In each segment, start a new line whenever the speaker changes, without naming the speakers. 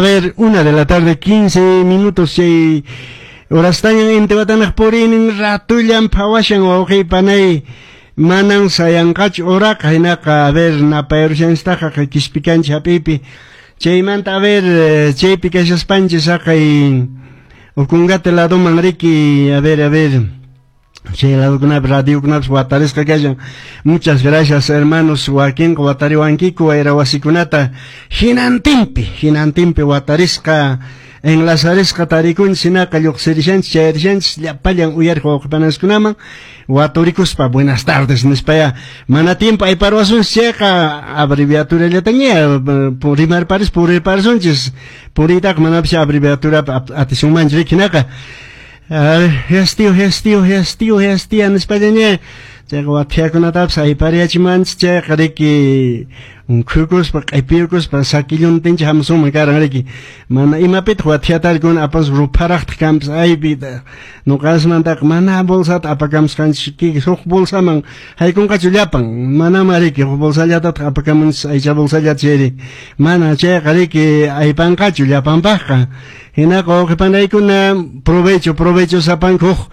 Ver, 1 de la tarde, 15 minutos, chay horastañan intiwatanaq puriynin ratullan phawashan wawqiy panay manan sayanqachu horaqa hinaqa a ver napayarushanchiktaqa qispikanchik hap'iypi chaymanta a ver chaypi kashaspanchis haqay Ocongate ladoman riki a ver chay ladokunapi radiokunapas watarisqa kashan. Muchas gracias, hermanos. Wakinqa watariwankiku wayra wasikunata hinantinpi, hinantinpi watarisqa, enlazarisqa tarikunchis hinaqa lluqsirishanchis, chayarishanchis llapallan uyariq wawqipananskunaman waturikuspa buenas tardes nispaya mana tiempo ayparwasunchis chayqa abreviaturallataña rimarparis purirparisunchis puriytaqa manapis abreviaturapi atisunmanchu riki hinaqa Hestio, hestio, hestio, hestia nispallaña chayqa wathiakunatapas aypariyachimanchis chayqa riki unkhukuspa q'ipiyukuspa sakilluntinchik hamusunman karan riki mana imapitaq wathiatarikuna apas rupharaqtaq kanpas aypi nuqasmantaqa mana bolsata apakamusqanchik huk bolsaman haykunqachu llapan manama riki huk bolsallatataq apakamunchis aycha bolsallata chayri mana chayqa riki aypanqachu llapanpaqqa hinaqa wawqipanaykuna provecho provecho sapanka huk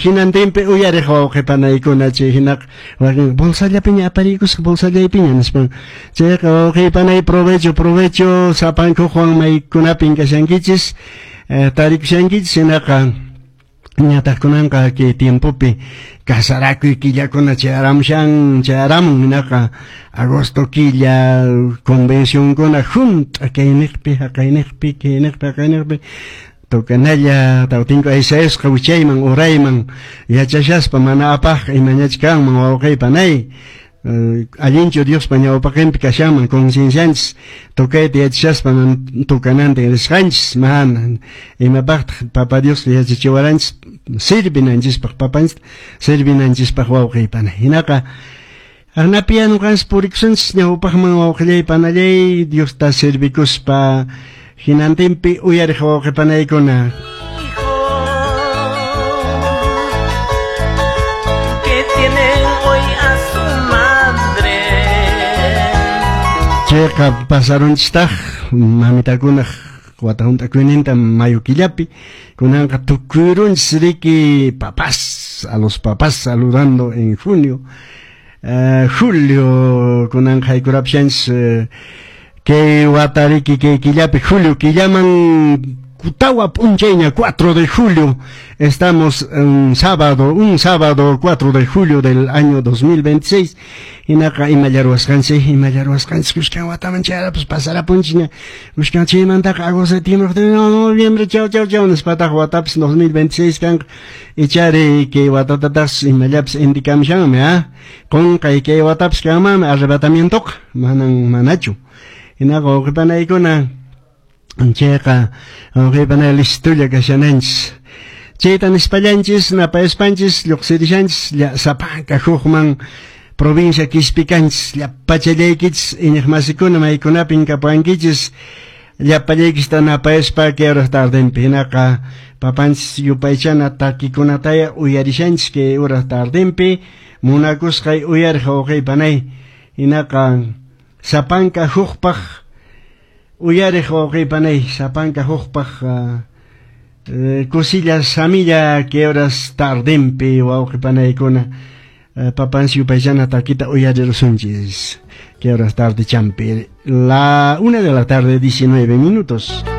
hinantinpi uyariq wawqipanaykuna chay hinaqa wakin bolsallapiña apariykusqa bolsallaypiña nispan chayqa wawqipanay provecho provecho sapanka hukwan maykunapin kashankichis tarikushankichis hinaqa ñataq kunanqa kay tiempopi casarakuy killakuna chayaramushan chayaramun hinaqa agosto killa convencionkuna hunt'a kayniqpi haqayniqpi kayniqpi haqayniqpi tocanalla tawtinku aysayasqa wichayman urayman yachashaspa mana apaqqa imañachi kanman wawqiypanay allinchu Diospa ñawpaqinpi kashanman conciencianchis tocayta yachashaspa tocanantin risqanchis mana imapaqtaq papa Dios yachachiwaranchis sirvinanchispaq papanchis sirvinanchispaq wawqiypanay hinaqa aqnapiya nuqanchis purikusunchis ñawpaqman wawqillay panallay Diosta servikuspa hinantinpi uyariq wawqipanaykuna. Chayqa pasarunchistaq mamitakunaq wata hunt'akuyninta mayo killapi kunanqa tukuyrunchis riki papás a los papás saludando en junio julio kunanqa haykurapushanchis kay wata riki kay killapi julio killaman tawa p'unchayña 4 de julio estamos un sábado 4 de julio del año 2026 hinaqa imallarwasqanchik kushkan wataman chayarapas pasarapunchikña kushkan chaymantaqa agosto septiembre noviembre chau chau chau nispataq watapas 2026 kanqa ichari kay watatataqsi imallapis indikamushanmi qunqay kay watapas kanmanmi arrebatamientoqa manan manachu hinaqa wawqipanaykuna chayqa wawqipanay listolla kashananchis chayta nispallanchis napayaspanchis lluqsirishanchis sapanka hukman provincia qispikanchis llapachallaykichis iñiqmasikuna maykunapin kapuwankichis llapallaykichista napayaspa kay horas tardenpi hinaqa papanchis yupaychana takikunataya uyarishanchis kay horas tardenpi munakusqay uyariq wawqipanay hinaqa sapanka hukpaq uyariq wawqipanay sapanka hukpaq kusilla samilla kay horas tardenpi wawqipanaykuna papanchis yupaychana takita uyarirusunchis kay horas tarde champi la 1 de la tarde 19 minutos.